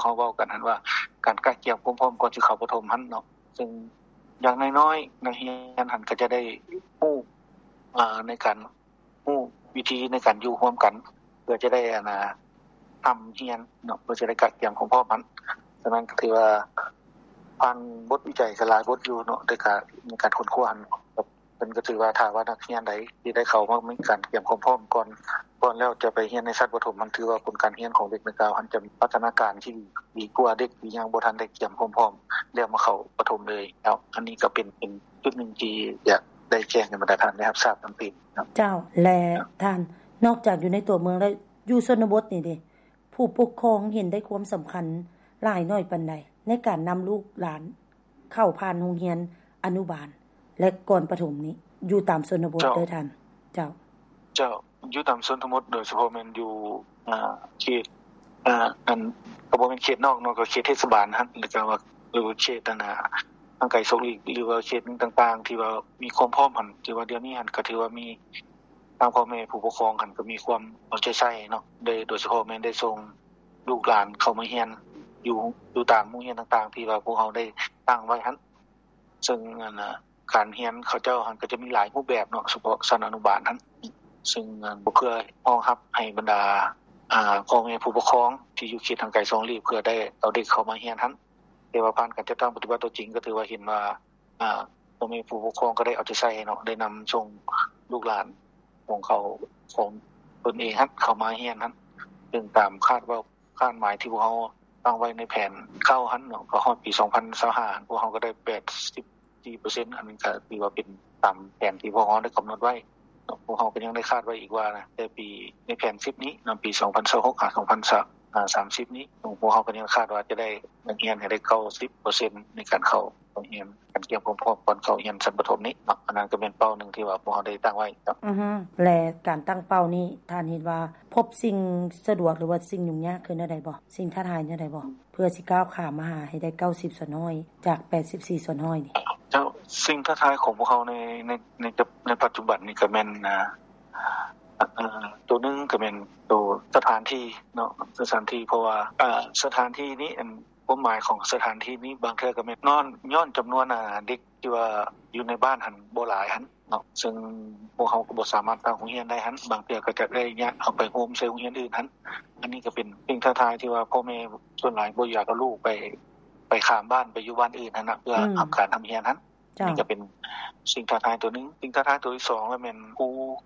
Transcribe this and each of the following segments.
ເຮົາເວົ້າກັນຫັ້ນວ່າ ການກະກຽມຄວາມພ້ອມກ່ອນຊິເຂົ້າປະຖົມຫັ້ນເນາະ ເຊິ່ງຢ່າງນ້ອຍໆ ນັກຮຽນຫັ້ນກໍຈະໄດ້ຮູ້ ອາ ໃນການ ຮູ້ວິທີໃນການຢູ່ຮ່ວມກັນ ເພື່ອຈະໄດ້ ອັນນ່າ ຮ່ຳຮຽນເນາະ ເພື່ອຈະໄດ້ກະກຽມຄວາມພ້ອມຫັ້ນ. ສະນັ້ນກໍຖືວ່າຜ່ານບົດວິໄຈກໍຫຼາຍບົດຢູ່ເນາະ ແຕ່ກະໃນການຄົ້ນຄວ້າຫັ້ນ ເພິ່ນກໍຖືວ່າ ຖ້າວ່ານັກຮຽນໃດທີ່ໄດ້ເຂົ້າມາມີການກຽມຄວາມພ້ອມກ່ອນ ກ່ອນແລ້ວຈະໄປຮຽນໃນຊັ້ນປະຖົມ ມັນຖືວ່າຜົນການຮຽນຂອງເດັກດັ່ງກ່າວຫັ້ນຈະມີພັດທະນາການທີ່ດີ ດີກວ່າເດັກທີ່ຍັງບໍ່ທັນໄດ້ກຽມຄວາມພ້ອມ ແລ້ວມາເຂົ້າປະຖົມເລີຍເນາະ. ອັນນີ້ກໍເປັນ ເປັນຈຸດໜຶ່ງທີ່ຢາກໄດ້ແຈ້ງໃຫ້ບັນດາທ່ານໄດ້ຮັບຊາບນຳຕື່ມເນາະ. ເຈົ້າ ແລະ ທ່ານ ນອກຈາກຢູ່ໃນຕົວເມືອງແລ້ວ ຢູ່ຊົນນະບົດນີ້ເດ ຜູ້ປົກຄອງເຫັນໄດ້ຄວາມສຳຄັນຫຼາຍໜ້ອຍປານໃດ ໃນການນຳລູກຫຼານເຂົ້າຜ່ານໂຮງຮຽນອະນຸບານ ແລະ ກ່ອນປະຖົມນີ້ ຢູ່ຕາມຊົນນະບົດເດີທ່ານ? ເຈົ້າ ເຈົ້າ ຢູ່ຕາມຊົນນະບົດ ໂດຍສະເພາະແມ່ນຢູ່ ເຂດ ອັນ ກໍບໍ່ແມ່ນເຂດນອກເນາະ ກໍເຂດເທດສະບານຫັ້ນ ແລ້ວກໍວ່າ ຫຼື ເຂດ ອັນນ່າ ຫ່າງໄກສອກຫຼີກ ຫຼືວ່າເຂດຕ່າງໆ ທີ່ວ່າມີຄວາມພ້ອມຫັ້ນ ຖືວ່າດຽວນີ້ຫັ້ນ ກໍຖືວ່າມີ ທາງພໍ່ແມ່ຜູ້ປົກຄອງຫັ້ນກໍມີຄວາມເອົາໃຈໃສ່ເນາະ ໂດຍ ໂດຍສະເພາະແມ່ນໄດ້ສົ່ງລູກຫຼານເຂົ້າມາຮຽນຢູ່ ຢູ່ຕາມໂຮງຮຽນຕ່າງໆ ທີ່ວ່າພວກເຮົາໄດ້ຕັ້ງໄວ້ຫັ້ນ ເຊິ່ງ ອັນ ການຮຽນເຂົາເຈົ້າຫັ້ນກໍຈະມີຫຼາຍຮູບແບບເນາະ ສະເພາະຊັ້ນອະນຸບານຫັ້ນ ເຊິ່ງ ອັນ ເພື່ອຮອງຮັບໃຫ້ບັນດາ ອາ ພໍ່ແມ່ຜູ້ປົກຄອງທີ່ຢູ່ເຂດຫ່າງໄກສອກຫຼີກ ເພື່ອໄດ້ເອົາເດັກເຂົ້າມາຮຽນຫັ້ນ ແຕ່ວ່າຜ່ານການຈັດຕັ້ງປະຕິບັດຕົວຈິງ ກໍຖືວ່າເຫັນວ່າ ອາ ພໍ່ແມ່ຜູ້ປົກຄອງກໍໄດ້ເອົາໃຈໃສ່ເນາະ ໄດ້ນຳສົ່ງລູກຫຼານຂອງເຂົາ ຂອງຕົນເອງຫັ້ນ ເຂົ້າມາຮຽນຫັ້ນ ເຊິ່ງຕາມຄາດເວົ້າ ຄາດໝາຍທີ່ພວກເຮົາຕັ້ງໄວ້ໃນແຜນເກົ້າຫັ້ນເນາະ ກໍຮອດປີສອງພັນຊາວຫ້າຫັ້ນ ພວກເຮົາກໍໄດ້ແປດສິບສີ່ເປີເຊັນ ອັນນີ້ກໍຖືວ່າເປັນຕາມແຜນທີ່ພວກເຮົາໄດ້ກຳນົດໄວ້ເນາະ. ພວກເຮົາກໍຍັງໄດ້ຄາດໄວ້ອີກວ່າ ແຕ່ປີ ໃນແຜນສິບນີ້ເນາະ ປີສອງພັນຊາວຫົກຫາສອງພັນສາມສິບນີ້ ພວກເຮົາກໍຍັງຄາດວ່າຈະໄດ້ນັກຮຽນໃຫ້ໄດ້ເກົ້າສິບເປີເຊັນ ໃນການເຂົ້າ ໂຮງຮຽນ ການກຽມຄວາມພ້ອມກ່ອນເຂົ້າຮຽນຊັ້ນປະຖົມນີ້ເນາະ ອັນນັ້ນກໍແມ່ນເປົ້າໜຶ່ງທີ່ວ່າພວກເຮົາໄດ້ຕັ້ງໄວ້ເນາະ. ອືຮຶ ແລະ ການຕັ້ງເປົ້ານີ້ ທ່ານເຫັນວ່າພົບສິ່ງສະດວກ ຫຼືວ່າສິ່ງຫຍຸ້ງຍາກຄືແນວໃດບໍ່? ສິ່ງທ້າທາຍແນວໃດບໍ່? ເພື່ອຊິກ້າວຂ້າມມາຫາໃຫ້ໄດ້ເກົ້າສິບສ່ວນຮ້ອຍ ຈາກແປດສິບສີ່ສ່ວນຮ້ອຍນີ້. ເຈົ້າ ສິ່ງທ້າທາຍຂອງພວກເຮົາໃນ ໃນ ໃນ ໃນປັດຈຸບັນນີ້ກໍແມ່ນ ອາ ໂຕໜຶ່ງກໍແມ່ນໂຕສະຖານທີ່ເນາະ ສະຖານທີ່ ເພາະວ່າ ອາ ສະຖານທີ່ນີ້ ອັນ ຄວາມໝາຍຂອງສະຖານທີ່ນີ້ບາງເທື່ອກໍແມ່ນຍ້ອນ ຍ້ອນຈຳນວນ ອາ ເດັກທີ່ວ່າຢູ່ໃນບ້ານຫັ້ນບໍ່ຫຼາຍຫັ້ນເນາະ ເຊິ່ງພວກເຮົາກໍບໍ່ສາມາດຕັ້ງໂຮງຮຽນໄດ້ຫັ້ນ ບາງເທື່ອກໍຈະໄດ້ຍ້າຍເຂົ້າໄປໂຮມໃສ່ໂຮງຮຽນອື່ນຫັ້ນ. ອັນນີ້ກໍເປັນສິ່ງທ້າທາຍທີ່ວ່າພໍ່ແມ່ສ່ວນຫຼາຍບໍ່ຢາກເອົາລູກໄປ ໄປຂ້າມບ້ານໄປຢູ່ບ້ານອື່ນຫັ້ນນະ ເພື່ອ ອືມ ຮັບການຮ່ຳຮຽນຫັ້ນ. ເຈົ້າ ນີ້ກໍເປັນສິ່ງທ້າທາຍຕົວໜຶ່ງ. ສິ່ງທ້າທາຍຕົວທີສອງລະແມ່ນຄູ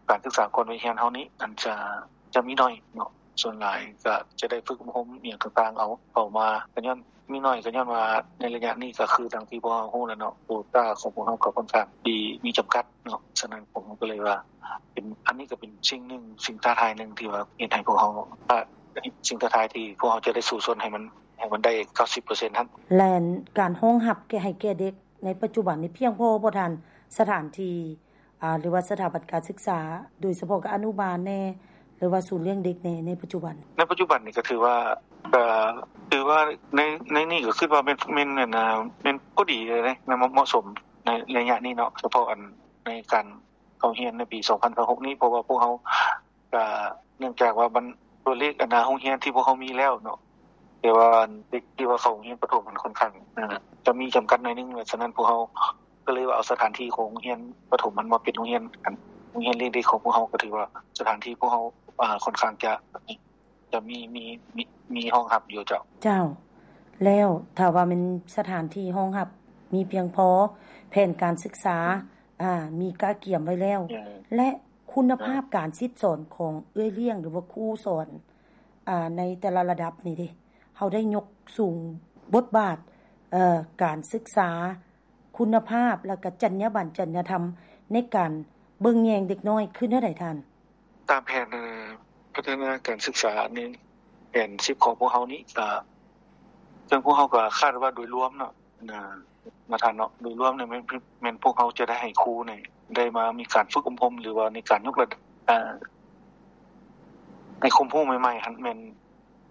ການສຶກສາກ່ອນວັຍຮຽນເຮົານີ້ ອັນຈະ ຈະມີໜ້ອຍເນາະ ສ່ວນຫຼາຍກໍຈະໄດ້ຝຶກອົບຮົມອີ່ຫຍັງຕ່າງໆ ເອົາເຂົ້າມາ ກໍຍ້ອນມີໜ້ອຍ ກໍຍ້ອນວ່າໃນໄລຍະນີ້ກໍຄືດັ່ງທີ່ພວກເຮົາຮູ້ແລ້ວເນາະ ໂຄຕ້າຂອງພວກເຮົາກໍຂ້ອນຂ້າງທີ່ມີຈຳກັດເນາະ. ສະນັ້ນພວກເຮົາກໍເລີຍວ່າເປັນ ອັນນີ້ກໍເປັນສິ່ງໜຶ່ງ ສິ່ງທ້າທາຍໜຶ່ງທີ່ວ່າເຮັດໃຫ້ພວກເຮົາ ສິ່ງທ້າທາຍທີ່ພວກເຮົາຈະໄດ້ສູ້ຊົນໃຫ້ມັນ ໃຫ້ມັນໄດ້ເກົ້າສິບເປີເຊັນຫັ້ນ. ແລະ ການຮອງຮັບແກ່ ໃຫ້ແກ່ເດັກໃນປັດຈຸບັນນີ້ພຽງພໍບໍ່ທ່ານ? ສະຖານທີ່ ອາ ຫຼືວ່າສະຖາບັນການສຶກສາ ໂດຍສະເພາະກໍອະນຸບານແດ່ ຫຼືວ່າສູນລ້ຽງເດັກແດ່ ໃນປັດຈຸບັນ? ໃນປັດຈຸບັນນີ້ກໍຖືວ່າ ກໍຖືວ່າໃນ ໃນນີ້ກໍຄິດວ່າແມ່ນ ແມ່ນ ແມ່ນພໍດີເລີຍເດ ແມ່ນເໝາະສົມໃນໄລຍະນີ້ເນາະ ສະເພາະອັນໃນການເຂົ້າຮຽນໃນປີສອງພັນຊາວຫົກນີ້ ເພາະວ່າພວກເຮົາກໍເນື່ອງຈາກວ່າມັນ ຕົວເລກອັນນາໂຮງຮຽນທີ່ພວກເຮົາມີແລ້ວເນາະ ແຕ່ວ່າເດັກທີ່ວ່າເຂົ້າໂຮງຮຽນປະຖົມມັນຂ້ອນຂ້າງ ອາ ຈະມີຈຳກັດໜ້ອຍໜຶ່ງ ສະນັ້ນພວກເຮົາກໍເລີຍວ່າເອົາສະຖານທີ່ຂອງໂຮງຮຽນປະຖົມຫັ້ນມາເປັນໂຮງຮຽນ ອັນ ໂຮງຮຽນລ້ຽງເດັກຂອງພວກເຮົາ ກໍຖືວ່າສະຖານທີ່ພວກເຮົາ ອາ ຂ້ອນຂ້າງຈະ ຈະມີ ມີ ມີ ມີຮອງຮັບຢູ່ເຈົ້າ. ເຈົ້າ ແລ້ວຖ້າວ່າແມ່ນສະຖານທີ່ຮອງຮັບມີພຽງພໍ ແຜນການສຶກສາ ອາ ມີກະກຽມໄວ້ແລ້ວ ແລະ ຄຸນນະພາບການສິດສອນຂອງເອື້ອຍລ້ຽງ ຫຼືວ່າຄູສອນ ອາ ໃນແຕ່ລະລະດັບນີ້ເດ ເຮົາໄດ້ຍົກສູງບົດບາດ ເອີ ການສຶກສາ ຄຸນນະພາບ ແລະ ກະຈັນຍາບັນ ຈັນຍາທຳ ໃນການເບິ່ງແຍງເດັກນ້ອຍຄືແນວໃດທ່ານ? ຕາມແຜນ ເອີ ພັດທະນາການສຶກສາໃນແຜນສິບຂອງພວກເຮົານີ້ ກະ ເຊິ່ງພວກເຮົາກະຄາດວ່າໂດຍລວມເນາະ ນະ ນະທ່ານເນາະ ໂດຍລວມນີ້ແມ່ນ ແມ່ນພວກເຮົາຈະໄດ້ໃຫ້ຄູນີ້ໄດ້ມາມີການຝຶກອົບຮົມ ຫຼືວ່າໃນການຍົກລະດັບ ເອີ ໃຫ້ຄວາມຮູ້ໃໝ່ໆຫັ້ນ ແມ່ນ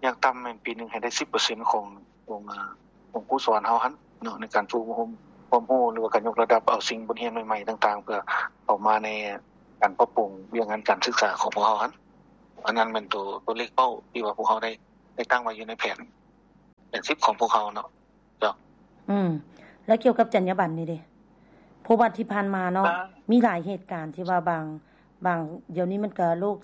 ຢ່າງຕ່ຳແມ່ນປີໜຶ່ງໃຫ້ໄດ້ສິບເປີເຊັນຂອງ ຂອງ ອາ ຂອງຄູສອນເຮົາຫັ້ນເນາະ ໃນການຝຶກອົບຮົມຄວາມຮູ້ ຫຼືວ່າການຍົກລະດັບເອົາສິ່ງບົດຮຽນໃໝ່ໆຕ່າງໆ ເພື່ອເຂົ້າມາໃນການປັບປຸງວຽກງານການສຶກສາຂອງພວກເຮົາຫັ້ນ. ອັນນັ້ນແມ່ນໂຕ ໂຕເລກເປົ້າທີ່ວ່າພວກເຮົາໄດ້ ໄດ້ຕັ້ງໄວ້ຢູ່ໃນແຜນ ແຜນ ສິດຂອງພວກເຮົາເນາະ. ເຈົ້າ. ອືມ ແລ້ວກ່ຽວກັບຈັນຍາບັນນີ້ເດ? ເພາະວ່າທີ່ຜ່ານມາເນາະ ອ່າ ມີຫຼາຍເຫດການທີ່ວ່າບາງ ບາງ ດຽວນີ້ມັນກະໂລກ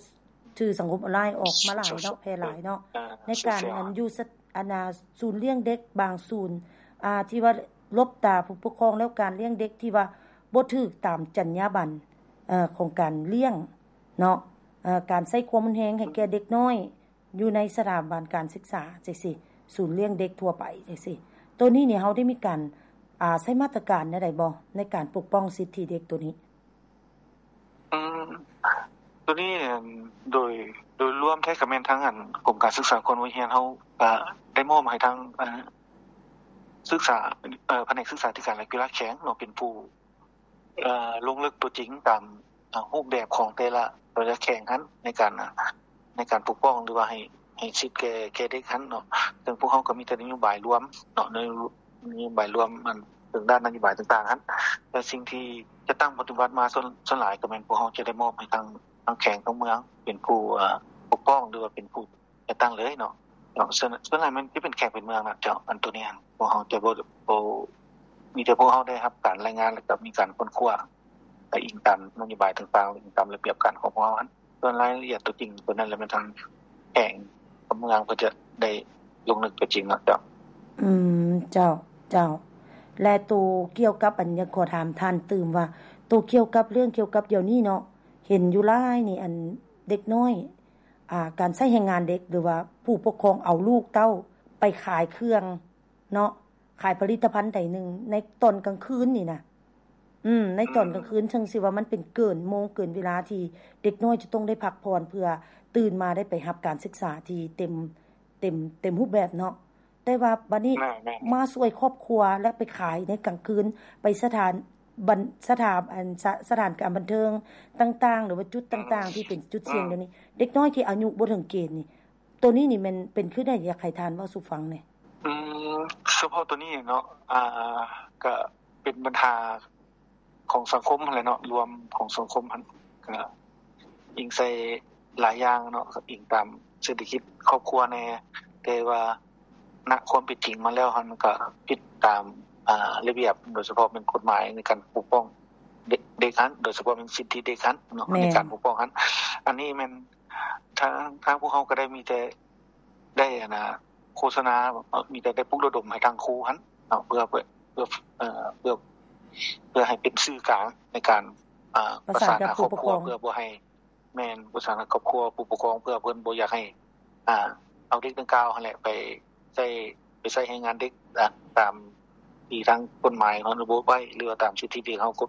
ສື່ສັງຄົມອອນລາຍອອກມາຫຼາຍເນາະ ໂຊ ແຜ່ຫຼາຍເນາະ ອ່າ ໃນການ ໂຊຊຽວ ອັນຢູ່ສະ ອັນນ່າ ສູນລ້ຽງເດັກບາງສູນ ອ່າ ທີ່ວ່າຫຼົບຕາຜູ້ປົກຄອງ ແລ້ວການລ້ຽງເດັກທີ່ວ່າບໍ່ຖືກຕາມຈັນຍາບັນ ເອີ ຂອງການລ້ຽງເນາະ ເອີ ການໃຊ້ຄວາມຮຸນແຮງໃຫ້ແກ່ເດັກນ້ອຍ ຢູ່ໃນສະຖາບັນການສຶກສາຈັ່ງຊີ້ ສູນລ້ຽງເດັກທົ່ວໄປຈັ່ງຊີ້ ໂຕນີ້ນີ້ເຮົາໄດ້ມີການ ອ່າ ໃຊ້ມາດຕະການແນວໃດບໍ່ ໃນການປົກປ້ອງສິດທິເດັກໂຕນີ້? ອືມ ໂຕນີ້ ໂດຍ ໂດຍລວມແທ້ກະແມ່ນທາງ ອັນ ກົມການສຶກສາກ່ອນວັຍຮຽນເຮົາກະໄດ້ມອບໃຫ້ທາງ ອ່າ ສຶກສາ ເອີ ພະແນກສຶກສາທິການ ແລະ ກິລາແຂວງເນາະ ເປັນຜູ້ ເອີ ລົງເລິກຕົວຈິງຕາມ ເອີ ຮູບແບບຂອງແຕ່ລະ ແຕ່ລະແຂວງຫັ້ນ ໃນການ ໃນການປົກປ້ອງ ຫຼືວ່າໃຫ້ ໃຫ້ສິດແກ່ ແກ່ເດັກຫັ້ນເນາະ. ເຊິ່ງພວກເຮົາກະມີແຕ່ນະໂຍບາຍລວມເນາະ ໃນນະໂຍບາຍລວມ ອັນ ເຖິງດ້ານນະໂຍບາຍຕ່າງໆຫັ້ນ ແຕ່ສິ່ງທີ່ຈັດຕັ້ງປະຕິບັດມາ ສ່ວນ ສ່ວນຫຼາຍກະແມ່ນພວກເຮົາຈະໄດ້ມອບໃຫ້ທາງ ທາງແຂວງ ທາງເມືອງ ເປັນຜູ້ ເອີ ປົກປ້ອງ ຫຼືວ່າເປັນຜູ້ ຈັດຕັ້ງເລີຍເນາະ ເນາະ ສ່ວນ ສ່ວນຫຼາຍມັນຈະເປັນແຂວງເປັນເມືອງນະເຈົ້າ. ອັນໂຕນີ້ຫັ້ນ ພວກເຮົາຈະບໍ່ ບໍ່ ມີແຕ່ພວກເຮົາໄດ້ຮັບການລາຍງານ ແລ້ວກະມີການຄົ້ນຄວ້າ ແລະ ອີງຕາມນະໂຍບາຍຕ່າງໆ ອີງຕາມລະບຽບການຂອງພວກເຮົາຫັ້ນ. ສ່ວນລາຍລະອຽດຕົວຈິງໂຕນັ້ນ ແລ້ວແມ່ນທາງແຂວງກັບເມືອງເພິ່ນຈະໄດ້ລົງເລິກຕົວຈິງເນາະເຈົ້າ. ອືມ ເຈົ້າ ເຈົ້າ ແລະ ໂຕກ່ຽວກັບ ອັນ ຢາກຂໍຖາມທ່ານຕື່ມວ່າ ໂຕກ່ຽວກັບເລື່ອງກ່ຽວກັບດຽວນີ້ເນາະ ເຫັນຢູ່ຫຼາຍນີ້ ອັນ ເດັກນ້ອຍ ອ່າ ການໃຊ້ແຮງງານເດັກ ຫຼືວ່າຜູ້ປົກຄອງເອົາລູກເຕົ້າໄປຂາຍເຄື່ອງເນາະ ຂາຍຜະລິດຕະພັນໃດໜຶ່ງໃນຕອນກາງຄືນນີ້ນະ ອືມ ໃນຕອນກາງຄືນ ເຊິ່ງຊິວ່າມັນເປັນເກີນໂມງເກີນເວລາທີ່ເດັກນ້ອຍຈະຕ້ອງໄດ້ພັກຜ່ອນ ເພື່ອຕື່ນມາໄດ້ໄປຮັບການສຶກສາທີ່ເຕັມ ເຕັມ ເຕັມຮູບແບບເນາະ. ແຕ່ວ່າບັດນີ້ ແມ່ນໆ ມາຊ່ວຍຄອບຄົວ ແລະ ໄປຂາຍໃນກາງຄືນ ໄປສະຖານບັນ ສະຖານ ອັນ ສະ ສະຖານການບັນເທີງຕ່າງໆ ຫຼືວ່າຈຸດຕ່າງໆ ອືມ ທີ່ເປັນຈຸດສ່ຽງ ອືມ ດຽວນີ້ ເດັກນ້ອຍທີ່ອາຍຸບໍ່ເຖິງເກນນີ້ ໂຕນີ້ນີ້ແມ່ນເປັນຄືໃດ ຢາກໃຫ້ທ່ານເວົ້າສູ່ຟັງແດ່? ອືມ ສະເພາະໂຕນີ້ເນາະ ອ່າ ກະເປັນບັນຫາ ຂອງສັງຄົມຫັ້ນແຫຼະເນາະ ລວມຂອງສັງຄົມຫັ້ນ ກະອີງໃສ່ຫຼາຍຢ່າງເນາະ ກະອີງຕາມເສດຖະກິດຄອບຄົວແດ່ ແຕ່ວ່ານະຄວາມເປັນຈິງມາແລ້ວຫັ້ນ ມັນກະຜິດຕາມ ອ່າ ລະບຽບ ໂດຍສະເພາະແມ່ນກົດໝາຍໃນການປົກປ້ອງເດັກ ເດັກຫັ້ນ ໂດຍສະເພາະແມ່ນສິດທິເດັກຫັ້ນເນາະ ແມ່ນ ໃນການປົກປ້ອງຫັ້ນ. ອັນນີ້ແມ່ນທາງ ທາງພວກເຮົາກະໄດ້ມີແຕ່ ໄດ້ ອັນນ່າ ໂຄສະນາ ມີແຕ່ໄດ້ປຸກລະດົມໃຫ້ທາງຄູຫັ້ນເນາະ ເພື່ອ ເພື່ອ ເພື່ອ ເອີ ເພື່ອ ເພື່ອໃຫ້ເປັນສື່ກາງໃນການ ອ່າ ປະສານຫາຄອບຄົວ ປະສານກັບຜູ້ປົກຄອງ ເພື່ອບໍ່ໃຫ້ ແມ່ນ ປະສານຫາຄອບຄົວ ຜູ້ປົກຄອງ ເພື່ອເພິ່ນບໍ່ຢາກໃຫ້ ອ່າ ເອົາເດັກດັ່ງກ່າວຫັ້ນແຫຼະ ໄປໃຊ້ ໄປໃຊ້ແຮງງານເດັກ ອ່າ ຕາມທີ່ທາງກົດໝາຍເຮົາລະບຸໄວ້ ຫຼືວ່າຕາມສິດທິທີ່ເຮົາກ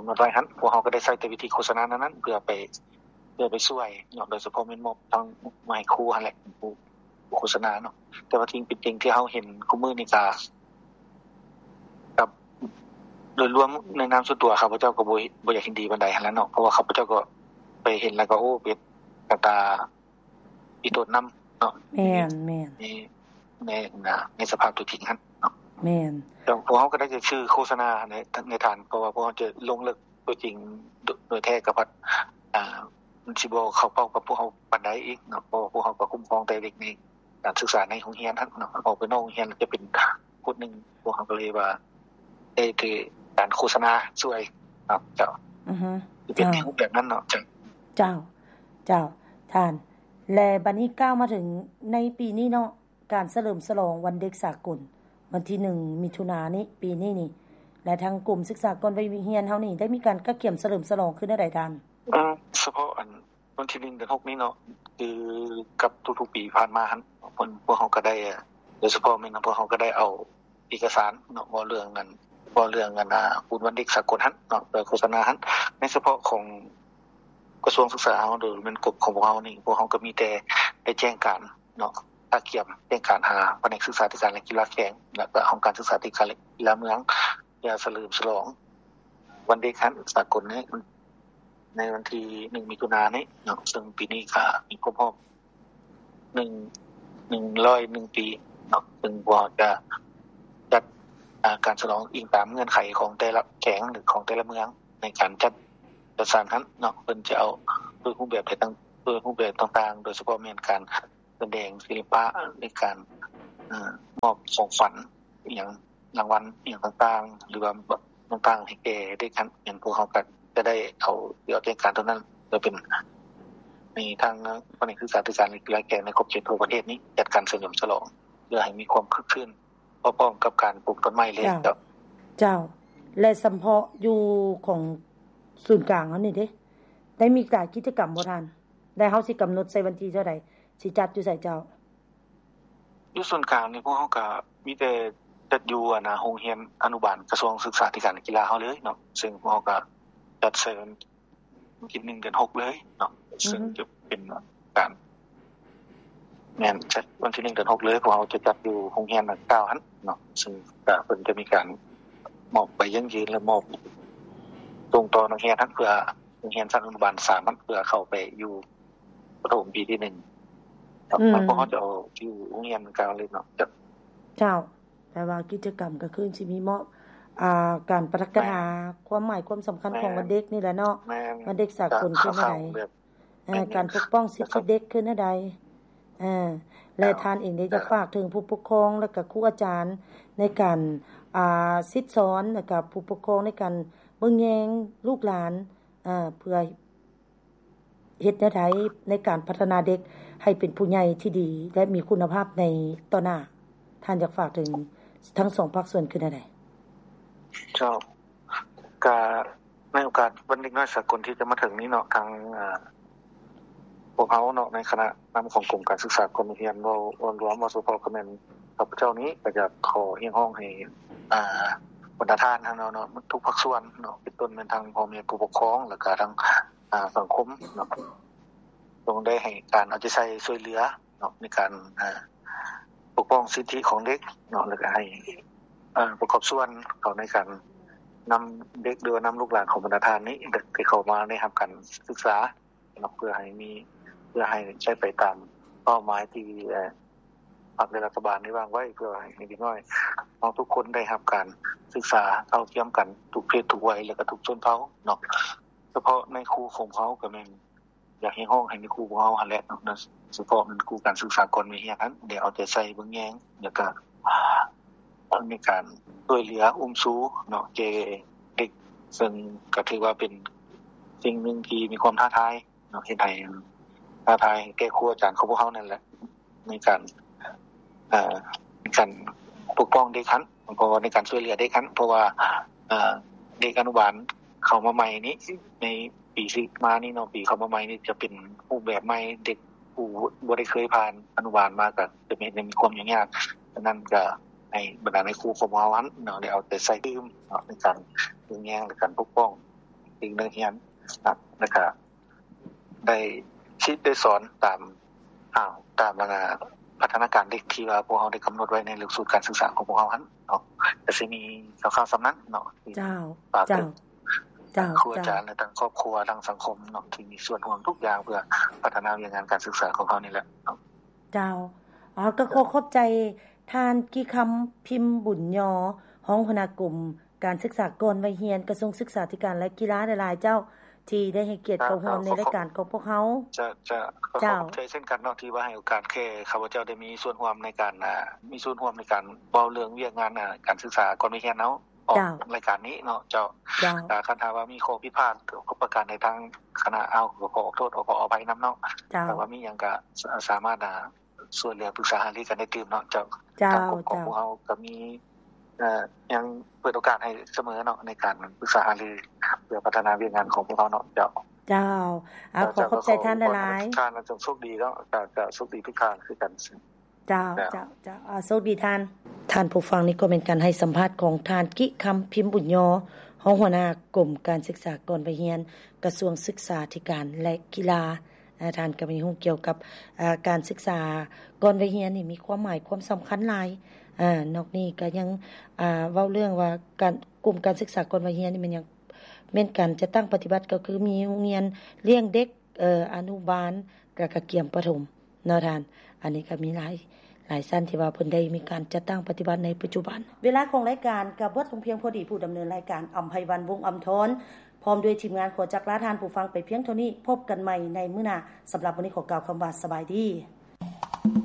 ຳນົດໄວ້ຫັ້ນ. ພວກເຮົາກະໄດ້ໃຊ້ແຕ່ວິທີໂຄສະນານັ້ນໆ ເພື່ອໄປ ເພື່ອໄປຊ່ວຍເນາະ ໂດຍສະເພາະແມ່ນມອບທັງມາໃຫ້ຄູຫັ້ນແຫຼະ ເປັນຜູ້ໂຄສະນາເນາະ. ແຕ່ວ່າສິ່ງເປັນຈິງທີ່ເຮົາເຫັນຄູ່ມື້ນີ້ກະ ກັບໂດຍລວມໃນນາມສ່ວນຕົວ ຂ້າພະເຈົ້າກະບໍ່ ບໍ່ຢາກເຫັນດີປານໃດຫັ້ນແຫຼະເນາະ ເພາະວ່າຂ້າພະເຈົ້າກະໄປເຫັນແລ້ວກະ ໂອ້ ເປັນໜ້າຕາອີ່ຕົນນຳເນາະ. ແມ່ນໆ ໃນ ໃນ ໃນສະພາບຕົວຈິງຫັ້ນເນາະ. ແມ່ນ ແຕ່ພວກເຮົາກະໄດ້ແຕ່ຊື່ໂຄສະນາໃນ ໃນຖານ ເພາະວ່າພວກເຮົາຈະລົງເລິກ ຕົວຈິງໂດຍ ໂດຍແທ້ກະພັດ ອ່າ ມັນຊິບໍ່ເຂົ້າເປົ້າກັບພວກເຮົາປານໃດອີກເນາະ ເພາະວ່າພວກເຮົາກະຄຸ້ມຄອງແຕ່ເດັກໃນການສຶກສາໃນໂຮງຮຽນຫັ້ນເນາະ ອອກໄປນອກໂຮງຮຽນແລ້ວຈະເປັນຄົນໜຶ່ງ ພວກເຮົາກະເລີຍວ່າ ໄດ້ຖືກການໂຄສະນາຊ່ວຍເນາະ. ເຈົ້າ ອືຮຶ ຈະເປັນ ເຈົ້າ ຮູບແບບນັ້ນເນາະ. ເຈົ້າ ເຈົ້າ ເຈົ້າ ທ່ານ ແລະ ບັດນີ້ກ່າວມາເຖິງໃນປີນີ້ເນາະ ການສະເຫຼີມສະຫຼອງວັນເດັກສາກົນ ວັນທີໜຶ່ງ ມິຖຸນານີ້ ປີນີ້ນີ້ ແລະ ທາງກົມສຶກສາກ່ອນໄວຮຽນເຮົານີ້ ໄດ້ມີການກະກຽມສະເຫຼີມສະຫຼອງຄືແນວໃດທ່ານ? ເອີ ສະເພາະອັນ ວັນທີໜຶ່ງ ເດືອນຫົກນີ້ເນາະ ຄືກັບທຸກໆປີຜ່ານມາຫັ້ນ ເພິ່ນ ພວກເຮົາກະໄດ້ ໂດຍສະເພາະແມ່ນພວກເຮົາກະໄດ້ເອົາເອກະສານເນາະ ເວົ້າເລື່ອງອັນ ເວົ້າເລື່ອງອັນ ບຸນວັນເດັກສາກົນຫັ້ນເນາະ ເພື່ອໂຄສະນາຫັ້ນ ໃນສະເພາະຂອງກະຊວງສຶກສາເຮົາ ໂດຍແມ່ນກົມຂອງພວກເຮົານີ້ ພວກເຮົາກະມີແຕ່ໄດ້ແຈ້ງການ ເນາະ ກະກຽມແຈ້ງການຫາພະແນກສຶກສາທິການ ແລະ ກິລາແຂວງ ແລະ ກະຫ້ອງການສຶກສາທິການ ແລະ ກິລາເມືອງ ເພື່ອສະເຫຼີມສະຫຼອງວັນເດັກຫັ້ນສາກົນໃນ ໃນວັນທີໜຶ່ງ ມິຖຸນານີ້ເນາະ ເຊິ່ງປີນີ້ກະມີຄົບຮອບ ໜຶ່ງ ໜຶ່ງຮ້ອຍໜຶ່ງປີເນາະ ເຊິ່ງພວກເຮົາຈະຈັດ ອ່າ ການສະຫຼອງອີງຕາມເງື່ອນໄຂຂອງແຕ່ລະແຂວງ ຫຼື ຂອງແຕ່ລະເມືອງ ໃນການຈັດ ຈັດສັນຫັ້ນເນາະ ເພິ່ນຈະເອົາໂດຍຮູບແບບຕ່າງ ໂດຍຮູບແບບຕ່າງໆ ໂດຍສະເພາະແມ່ນການ ສະແດງສິລະປະ ໃນການ ເອີ ມອບຂອງຂວັນ ອີ່ຫຍັງ ລາງວັນ ອີ່ຫຍັງຕ່າງໆ ຫຼືວ່າຕ່າງໆ ໃຫ້ແກ່ເດັກຫັ້ນ ຫຍັງ ພວກເຮົາກໍຈະໄດ້ເອົາ ຊິເອົາແຈ້ງການໂຕນັ້ນ ເພື່ອເປັນ ໃຫ້ທາງພະແນກສຶກສາທິການ ແລະ ກິລາແກ່ໃນຂອບເຂດທົ່ວປະເທດນີ້ ຈັດການສະເຫຼີມສະຫຼອງ ເພື່ອໃຫ້ມີຄວາມຄຶກຄື້ນ ພ້ອມກັບການປູກຕົ້ນໄມ້ເລີຍ. ເຈົ້າ ເຈົ້າ ເຈົ້າ ແລະ ສຳເພາະຢູ່ຂອງສູນກາງເຮົານີ້ເດ້ ໄດ້ມີຫຼາຍກິດຈະກຳບໍ່ທ່ານ? ແລະ ເຮົາຊິກຳນົດໃສ່ວັນທີເທົ່າໃດ ຊິຈັດຢູ່ໃສເຈົ້າ? ຢູ່ສູນກາງນີ້ ພວກເຮົາກະມີແຕ່ຈັດຢູ່ ອັນນ່າ ໂຮງຮຽນອະນຸບານກະຊວງສຶກສາທິການ ແລະ ກິລາເຮົາເລີຍເນາະ, ເຊິ່ງພວກເຮົາກະຈັດໃສ່ວັນທີໜຶ່ງເດືອນຫົກເລີຍເນາະ, ເຊິ່ງຈະເປັນການ ແມ່ນ ຈັດວັນທີໜຶ່ງເດືອນຫົກເລີຍ, ພວກເຮົາຈະຈັດຢູ່ໂຮງຮຽນດັ່ງກ່າວຫັ້ນເນາະ, ເຊິ່ງກະເພິ່ນຈະມີການມອບໃບຢັ້ງຢືນ ແລະ ມອບສົ່ງຕໍ່ນັກຮຽນຫັ້ນ ເພື່ອໂຮງຮຽນຊັ້ນອະນຸບານສາມຫັ້ນ ເພື່ອເຂົ້າໄປຢູ່ປະຖົມປີທີໜຶ່ງ. ອືມ ພວກເຮົາຈະເອົາຢູ່ໂຮງຮຽນເກົ່າເລີຍເນາະ. ເຈົ້າ ແປວ່າກິດຈະກຳກະຄືຊິມີມອບ ອ່າ ການປະດັກກະຖາ ແມ່ນ ຄວາມໝາຍຄວາມສຳຄັນຂອງ ແມ່ນ ວັນເດັກນີ້ແຫຼະເນາະ, ແມ່ນ ວັນເດັກສາກົນຄືແນວໃດ ແບບ ເອີ ການປົກປ້ອງສິດທິເດັກຄືແນວໃດ ເອີ ແລະ ເຈົ້າ ທ່ານເອງໄດ້ຢາກ ເຈົ້າ ຝາກເຖິງຜູ້ປົກຄອງ ແລະ ກະຄູອາຈານໃນການ ອ່າ ສິດສອນ ແລະ ກະຜູ້ປົກຄອງໃນການເບິ່ງແຍງລູກຫຼານ ເອີ ເພື່ອ ເຮັດແນວໃດໃນການພັດທະນາເດັກໃຫ້ເປັນຜູ້ໃຫຍ່ທີ່ດີ ແລະ ມີຄຸນນະພາບໃນຕໍ່ໜ້າ? ທ່ານຢາກຝາກເຖິງທັງສອງພາກສ່ວນຄືແນວໃດ? ເຈົ້າ ກະໃນໂອກາດວັນເດັກນ້ອຍສາກົນທີ່ຈະມາເຖິງນີ້ເນາະ, ທາງ ເອີ ພວກເຮົາເນາະ ໃນຄະນະນຳຂອງກົມການສຶກສາກ່ອນວັຍຮຽນ ເວົ້າລວມ ເວົ້າສະເພາະກະແມ່ນຂ້າພະເຈົ້ານີ້ ກະຢາກຂໍຮຽກຮ້ອງໃຫ້ ອ່າ ບັນດາທ່ານເຮົາເນາະ ເນາະ ທຸກພາກສ່ວນເນາະ ເປັນຕົ້ນແມ່ນທັງພໍ່ແມ່ຜູ້ປົກຄອງ ແລະ ກະທັງ ອ່າ ສັງຄົມເນາະ ຕ້ອງໄດ້ໃຫ້ການເອົາໃຈໃສ່ຊ່ວຍເຫຼືອເນາະ ໃນການ ອ່າ ປົກປ້ອງສິດທິຂອງເດັກເນາະ ແລະ ກະໃຫ້ ອ່າ ປະກອບສ່ວນເຂົ້າໃນການນຳເດັກ ຫຼືວ່ານຳລູກຫຼານຂອງບັນດາທ່ານນີ້ ທີ່ເຂົ້າມາໄດ້ຮັບການສຶກສາເນາະ ເພື່ອໃຫ້ມີ ເພື່ອໃຫ້ໃຊ້ໄປຕາມເປົ້າໝາຍທີ່ ເອີ ພັກ ແລະ ລັດຖະບານໄດ້ວາງໄວ້ ເພື່ອໃຫ້ເດັກນ້ອຍເຮົາທຸກຄົນໄດ້ຮັບການສຶກສາເທົ່າທຽມກັນທຸກເພດທຸກໄວ ແລະ ກະທຸກຊົນເຜົ່າເນາະ. ສະເພາະນາຍຄູຂອງເຮົາກະແມ່ນຢາກຮຽກຮ້ອງໃຫ້ນາຍຄູພວກເຮົາຫັ້ນແຫຼະເນາະ, ສະເພາະແມ່ນຄູການສຶກສາກ່ອນວັຍຮຽນຫັ້ນ ໄດ້ເອົາໃຈໃສ່ເບິ່ງແຍງ ແລະ ກະ ໃນການຊ່ວຍເຫຼືອອຸ້ມຊູເນາະ ແກ່ເດັກ ເຊິ່ງກະຖືວ່າເປັນສິ່ງໜຶ່ງທີ່ມີຄວາມທ້າທາຍ ເນາະ ເຮັດໃຫ້ທ້າທາຍແກ່ຄູອາຈານຂອງພວກເຮົານັ້ນແຫຼະ ໃນການ ເອີ ໃນການປົກປ້ອງເດັກຫັ້ນ ເພາະວ່າໃນການຊ່ວຍເຫຼືອເດັກຫັ້ນ ເພາະວ່າ ເອີ ເດັກອະນຸບານເຂົ້າມາໃໝ່ນີ້ ໃນປີທີ່ມານີ້ເນາະ ປີເຂົ້າມາໃໝ່ນີ້ຈະເປັນຮູບແບບໃໝ່ ເດັກຜູ້ບໍ່ໄດ້ເຄີຍຜ່ານອະນຸບານມາ ກະຈະເຮັດໃຫ້ມີຄວາມຫຍຸ້ງຍາກ. ສະນັ້ນກະໃຫ້ບັນດານາຍຄູຂອງພວກເຮົາຫັ້ນເນາະ ໄດ້ເອົາໃຈໃສ່ຕື່ມເນາະ ໃນການເບິ່ງແຍງ ແລະ ການປົກປ້ອງເດັກນັກຮຽນນະ ແລະ ກະ ໄດ້ສິດໄດ້ສອນຕາມ ຕາມ ຕາມ ອ່າ ພັດທະນາການເດັກທີ່ວ່າພວກເຮົາໄດ້ກຳນົດໄວ້ໃນຫຼັກສູດການສຶກສາຂອງພວກເຮົາຫັ້ນເນາະ. ກະຊິມີຄ່າວໆສ່ຳນັ້ນເນາະ ທີ່ ເຈົ້າ ຝາກເຖິງ ເຈົ້າ ເຈົ້າ ຄູອາຈານ ເຈົ້າ ແລະ ທັງຄອບຄົວ ທັງສັງຄົມເນາະ ທີ່ມີສ່ວນຮ່ວມທຸກຢ່າງເພື່ອພັດທະນາວຽກງານການສຶກສາຂອງເຮົານີ້ແຫຼະເນາະ. ເຈົ້າ ເອີ ກະຂໍຂອບໃຈທ່ານ ກິຄຳ ພິມບຸນຍໍ ຮອງຫົວໜ້າກົມ ການສຶກສາກ່ອນວັຍຮຽນ ກະຊວງສຶກສາທິການ ແລະ ກິລາ ຫຼາຍໆ ເຈົ້າ ທີ່ໄດ້ໃຫ້ກຽດເຂົ້າຮ່ວມໃນລາຍການຂອງພວກເຮົາ. ຈະ ຈະ ຂໍຂອບໃຈເຊັ່ນກັນເນາະ ທີ່ວ່າໃຫ້ໂອກາດແກ່ຂ້າພະເຈົ້າໄດ້ມີສ່ວນຮ່ວມໃນການ ອ່າ ມີສ່ວນຮ່ວມໃນການເວົ້າເລື່ອງວຽກງານ ອ່າ ການສຶກສາກ່ອນວັຍຮຽນເຮົາ ອອກ ເຈົ້າ ລາຍການນີ້ເນາະ. ເຈົ້າ ເຈົ້າ ຄັນຖ້າວ່າມີຂໍ້ຜິດພາດປະການໃດ ທາງຄະນະເຮົາກໍຂໍອອກໂທດ ຂໍອະໄພນຳເນາະ. ເຈົ້າ ຖ້າວ່າມີຫຍັງກະສາມາດ ອ່າ ຊ່ວຍເຫຼືອປຶກສາຫາລືກັນໄດ້ຕື່ມເນາະ. ເຈົ້າ ເຈົ້າ ທາງກົມຂອງພວກເຮົາກະມີ ເອີ ຍັງເປີດໂອກາດໃຫ້ສະເໝີເນາະ ໃນການປຶກສາຫາລືເພື່ອພັດທະນາວຽກງານຂອງພວກເຮົາເນາະ. ເຈົ້າ ເຈົ້າ ອາ ຂໍຂອບໃຈທ່ານຫຼາຍໆ. ທ່ານຈົ່ງໂຊກດີເນາະ. ເຈົ້າ ໂຊກດີທຸກທ່ານຄືກັນ. ເຈົ້າ ເຈົ້າ ເຈົ້າ ໂຊກດີທ່ານ. ທ່ານຜູ້ຟັງ ນີ້ກໍແມ່ນການໃຫ້ສຳພາດຂອງທ່ານ ກິຄຳ ພິມບຸນຍໍ ຮອງຫົວໜ້າກົມການສຶກສາກ່ອນໄປຮຽນ ກະຊວງສຶກສາທິການ ແລະ ກິລາ. ອາ ທ່ານກະມີຮູ້ກ່ຽວກັບ ອາ ການສຶກສາກ່ອນໄປຮຽນນີ້ມີຄວາມໝາຍຄວາມສຳຄັນຫຼາຍ. ອາ ນອກນີ້ກະຍັງ ອາ ເວົ້າເລື່ອງວ່າການ ກົມການສຶກສາກ່ອນໄປຮຽນນີ້ແມ່ນຫຍັງ ແມ່ນການຈັດຕັ້ງປະຕິບັດ ກະຄືມີໂຮງຮຽນລ້ຽງເດັກ ອາ ອະນຸບານ ແລະ ກະກຽມປະຖົມເນາະທ່ານ. ອັນນີ້ກະມີຫຼາຍ ຫຼາຍຊັ້ນທີ່ວ່າເພິ່ນໄດ້ມີການຈັດຕັ້ງປະຕິບັດໃນປັດຈຸບັນ. ເວລາຂອງລາຍການກະເບິດລົງພຽງພໍດີ. ຜູ້ດຳເນີນລາຍການ ອຳໄພວັນ ວົງອຳທອນ ພ້ອມດ້ວຍທີມງານ ຂໍຈັກລາທ່ານຜູ້ຟັງໄປພຽງເທົ່ານີ້. ພົບກັນໃໝ່ໃນມື້ໜ້າ. ສຳລັບມື້ນີ້ຂໍກ່າວຄຳວ່າ ສະບາຍດີ.